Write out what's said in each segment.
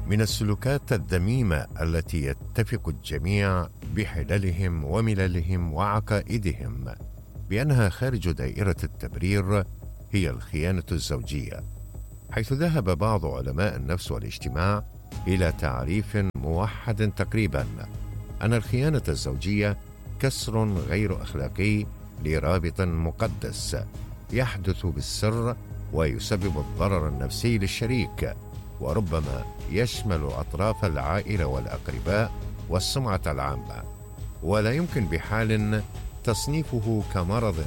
من السلوكات الذميمة التي يتفق الجميع بحللهم ومللهم وعقائدهم بأنها خارج دائرة التبرير هي الخيانة الزوجية، حيث ذهب بعض علماء النفس والاجتماع إلى تعريف موحد تقريبا أن الخيانة الزوجية كسر غير أخلاقي لرابط مقدس يحدث بالسر ويسبب الضرر النفسي للشريك، وربما يشمل أطراف العائلة والأقرباء والسمعة العامة، ولا يمكن بحال تصنيفه كمرض،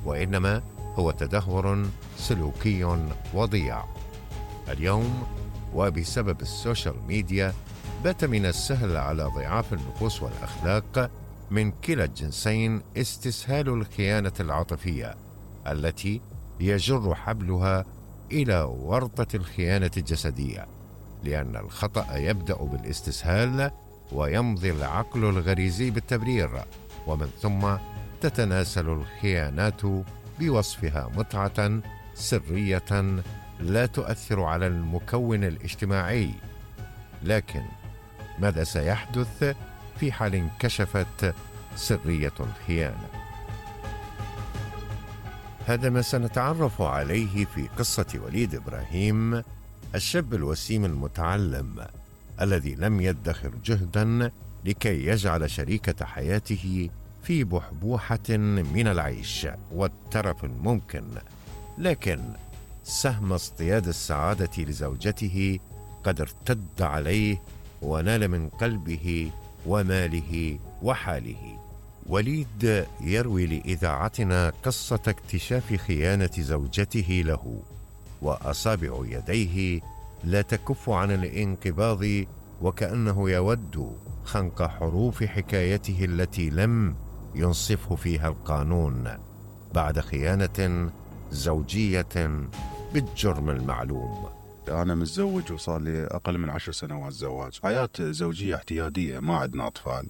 وإنما هو تدهور سلوكي وضياع. اليوم وبسبب السوشيال ميديا بات من السهل على ضعاف النفوس والأخلاق من كلا الجنسين استسهال الخيانة العاطفية التي يجر حبلها إلى ورطة الخيانة الجسدية، لأن الخطأ يبدأ بالاستسهال ويمضي العقل الغريزي بالتبرير، ومن ثم تتناسل الخيانات بوصفها متعة سرية لا تؤثر على المكون الاجتماعي. لكن ماذا سيحدث في حال انكشفت سرية الخيانة؟ هذا ما سنتعرف عليه في قصة وليد إبراهيم، الشاب الوسيم المتعلم الذي لم يدخر جهدا لكي يجعل شريكة حياته في بحبوحة من العيش والترف الممكن، لكن سهم اصطياد السعادة لزوجته قد ارتد عليه ونال من قلبه وماله وحاله. وليد يروي لإذاعتنا قصة اكتشاف خيانة زوجته له، وأصابع يديه لا تكف عن الانقباض وكأنه يود خنق حروف حكايته التي لم ينصفه فيها القانون بعد خيانة زوجية بالجرم المعلوم. أنا متزوج وصار لي أقل من 10 سنوات زواج، حياة زوجية اعتيادية، ما عندنا أطفال،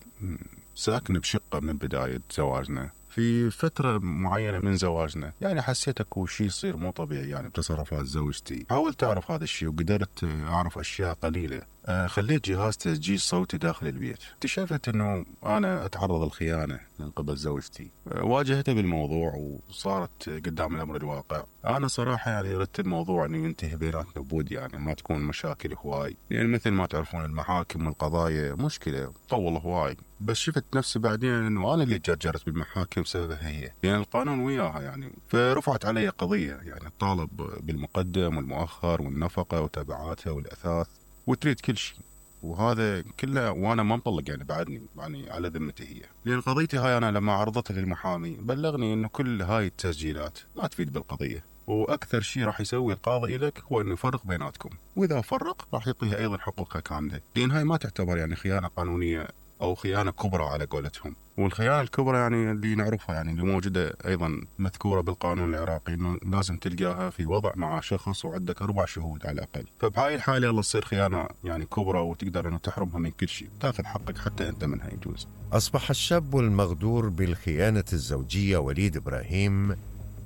ساكن بشقة من بداية زواجنا. في فترة معينة من زواجنا يعني حسيت اكو شيء يصير مو طبيعي يعني بتصرفات زوجتي. حاولت اعرف هذا الشيء وقدرت اعرف اشياء قليلة. خليت جهاز تسجيل صوتي داخل البيت. اكتشفت انه انا اتعرض للخيانة من قبل زوجتي. واجهتها بالموضوع وصارت قدام الامر الواقع. انا صراحة يعني ردت الموضوع انه ينتهي بيناتنا بود، يعني ما تكون مشاكل هواي، يعني مثل ما تعرفون المحاكم والقضايا مشكلة طول هواي. بس شفت نفسي بعدين انه انا اللي جرجرت بالمحاكم بسببها هي، يعني القانون وياها يعني. فرفعت علي قضية، يعني الطالب بالمقدم والمؤخر والنفقة وتبعاتها والاثاث وتريد كل شيء، وهذا كله وانا ما مطلق يعني بعدني يعني على ذمتي هي. لان قضيتي هاي انا لما عرضتها للمحامي بلغني انه كل هاي التسجيلات ما تفيد بالقضية، واكثر شيء راح يسوي القاضي لك هو انه يفرق بيناتكم، واذا فرق راح يعطيها ايضا حقوقها كاملة، لان هاي ما تعتبر يعني خيانة قانونية او خيانة كبرى على قولتهم. والخيانة الكبرى يعني اللي نعرفها يعني اللي موجودة ايضا مذكورة بالقانون العراقي انه لازم تلقاها في وضع مع شخص وعندك 4 شهود على الاقل. فبهاي الحالة يلا تصير خيانة يعني كبرى وتقدر انه تحرمها من كل شيء، تاخذ حقك حتى انت منها يجوز. اصبح الشاب المغدور بالخيانة الزوجية وليد إبراهيم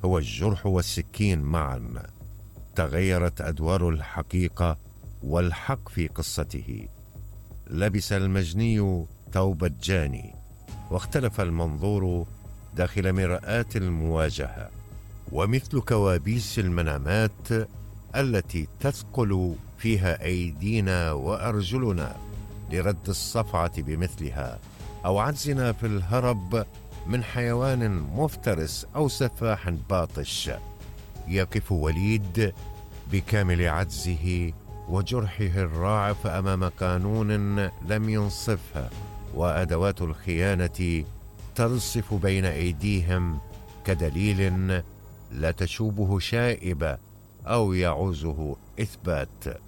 هو الجرح والسكين معا. تغيرت أدوار الحقيقة والحق في قصته، لبس المجني ثوب الجاني، واختلف المنظور داخل مرآة المواجهة. ومثل كوابيس المنامات التي تثقل فيها أيدينا وأرجلنا لرد الصفعة بمثلها، أو عجزنا في الهرب من حيوان مفترس أو سفاح باطش، يقف وليد بكامل عجزه وجرحه الراعف أمام قانون لم ينصفه، وأدوات الخيانة ترصف بين أيديهم كدليل لا تشوبه شائبة أو يعوزه إثبات.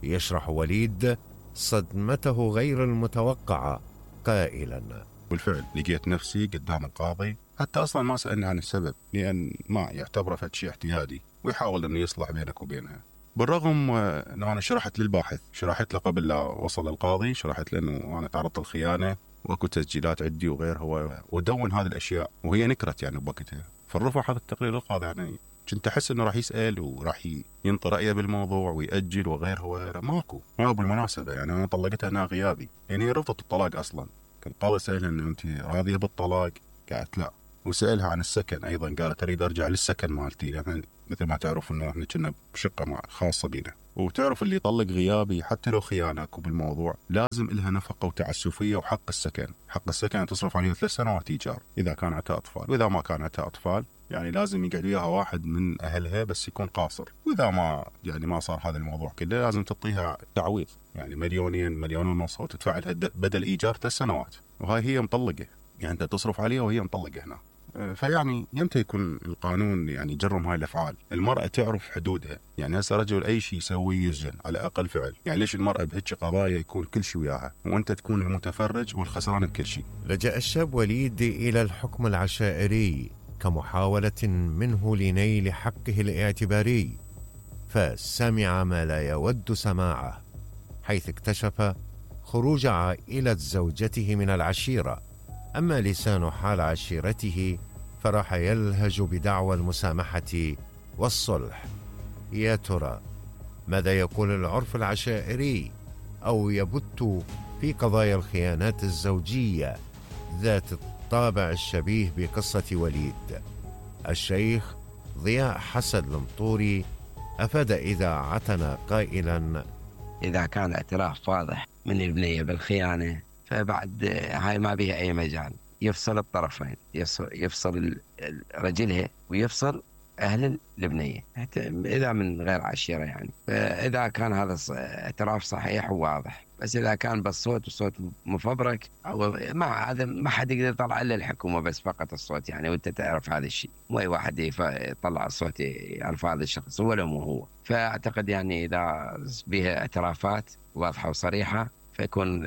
يشرح وليد صدمته غير المتوقعة قائلا: بالفعل لقيت نفسي قدام القاضي، حتى أصلا ما سألني عن السبب لأن ما يعتبره فشي اعتيادي ويحاول أنه يصلح بينك وبينها. بالرغم أنه أنا شرحت للباحث، شرحت له قبل لا وصل القاضي، شرحت له أنه أنا تعرضت للخيانة وأكو تسجيلات عندي وغيرها، ودون هذه الأشياء وهي نكرت يعني بوقتها. فالرفع هذا التقرير للقاضي يعني كنت أحس إنه راح يسأل وراح ينطي رأيه بالموضوع ويأجل وغيره وغيره. ما بالمناسبة يعني أنا طلقتها أنا غيابي، يعني هي رفضت الطلاق أصلا. كان قاضي سألها إنه أنت راضية بالطلاق؟ قالت لا. وسألها عن السكن أيضا، قالت أريد أرجع للسكن مالتي، يعني مثل ما تعرف إنه إحنا كنا بشقة خاصة بينا. وتعرف اللي يطلق غيابي حتى لو خيانك وبالموضوع لازم إلها نفقة وتعسفية وحق السكن. حق السكن تصرف عليه 3 سنوات إيجار إذا كان عندها أطفال، وإذا ما كان عندها أطفال يعني لازم يقعد وياها واحد من أهلها بس يكون قاصر. وإذا ما صار هذا الموضوع كله لازم تعطيها تعويض، يعني 2 مليون ونص، وتدفع لها بدل إيجار 3 سنوات. وهاي هي مطلقة، يعني أنت تصرف عليها وهي مطلقة هنا. فيعني يمتى يكون القانون يعني يجرم هاي الأفعال؟ المرأة تعرف حدودها، يعني هسه رجل أي شيء يسوي يسجن على أقل فعل. يعني ليش المرأة بهيك قضايا يكون كل شيء وياها وأنت تكون المتفرج والخسران بكل شيء؟ لجأ الشاب وليد إلى الحكم العشائري كمحاولة منه لنيل حقه الاعتباري، فسمع ما لا يود سماعه، حيث اكتشف خروج عائلة زوجته من العشيرة. أما لسان حال عشيرته فراح يلهج بدعوى المسامحة والصلح. يا ترى ماذا يقول العرف العشائري أو يبت في قضايا الخيانات الزوجية ذات الطابع الشبيه بقصة وليد؟ الشيخ ضياء حسن المطوري أفاد إذاعتنا قائلا: إذا كان اعتراف واضح من البنية بالخيانة فبعد هاي ما بيها أي مجال، يفصل الطرفين، يفصل رجلها ويفصل أهل البنية إذا من غير عشيرة يعني. فإذا كان هذا اعتراف صحيح وواضح، بس إذا كان بالصوت وصوت مفبرك مع هذا ما حد يقدر يطلع إلا الحكومة بس فقط الصوت يعني، وأنت تعرف هذا الشيء، مو أي واحد يطلع الصوت يعرف هذا الشخص ولا مو هو. فأعتقد يعني إذا بها اعترافات واضحة وصريحة فيكون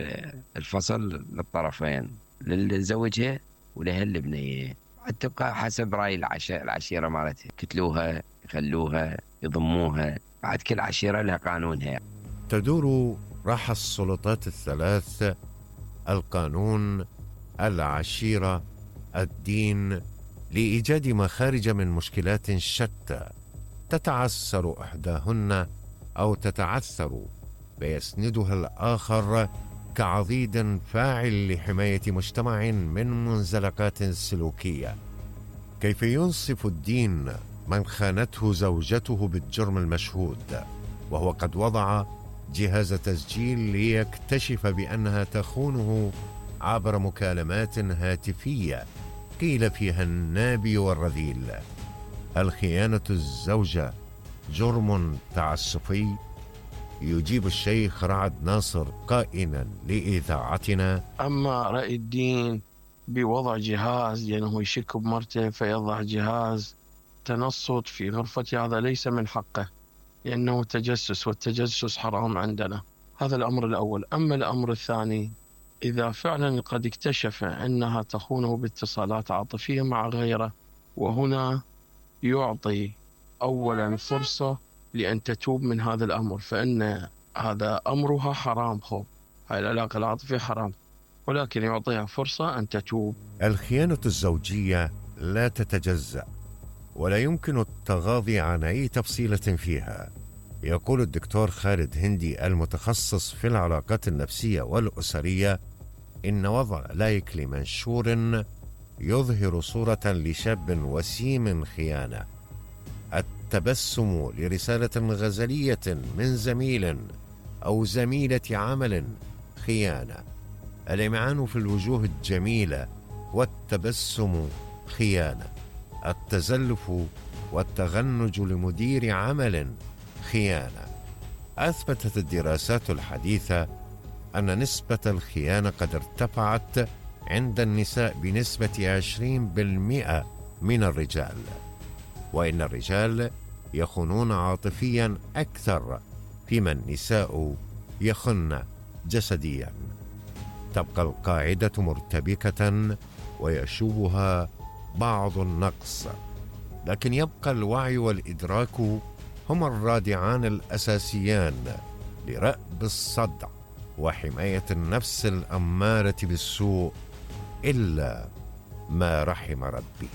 الفصل للطرفين، للزوجها ولها البنية. تبقى حسب رأي العشيرة مالتها، يقتلوها يخلوها يضموها، بعد كل عشيرة لها قانونها. تدور راح السلطات الثلاث، القانون، العشيرة، الدين، لإيجاد مخارج من مشكلات شتى تتعسر إحداهن أو تتعثر فيسندها الآخر كعضيد فاعل لحماية مجتمع من منزلقات سلوكية. كيف ينصف الدين من خانته زوجته بالجرم المشهود وهو قد وضع جهاز تسجيل ليكتشف بأنها تخونه عبر مكالمات هاتفية قيل فيها النابي والرذيل؟ هل خيانة الزوجة جرم تعسفي؟ يجيب الشيخ رعد ناصر قائلا لإذاعتنا: أما رأي الدين بوضع جهاز لأنه يشك بمرته فيضع جهاز تنصت في غرفته، هذا ليس من حقه لأنه تجسس، والتجسس حرام عندنا. هذا الأمر الأول. أما الأمر الثاني، إذا فعلا قد اكتشف أنها تخونه باتصالات عاطفية مع غيره، وهنا يعطي أولا فرصة لأن تتوب من هذا الأمر، فإن هذا أمرها حرام، هاي العلاقة العاطفية حرام، ولكن يعطيها فرصة أن تتوب. الخيانة الزوجية لا تتجزأ ولا يمكن التغاضي عن أي تفصيلة فيها. يقول الدكتور خالد هندي المتخصص في العلاقات النفسية والأسرية إن وضع لايك لمنشور يظهر صورة لشاب وسيم خيانة، التبسم لرسالة غزلية من زميل أو زميلة عمل خيانة، الإمعان في الوجوه الجميلة والتبسم خيانة، التزلف والتغنج لمدير عمل خيانة. أثبتت الدراسات الحديثة أن نسبة الخيانة قد ارتفعت عند النساء بنسبة 20% من الرجال، وإن الرجال يخونون عاطفيا أكثر فيما النساء يخن جسديا. تبقى القاعدة مرتبكة ويشوبها بعض النقص، لكن يبقى الوعي والإدراك هما الرادعان الأساسيان لرأب الصدع وحماية النفس الأمارة بالسوء إلا ما رحم ربي.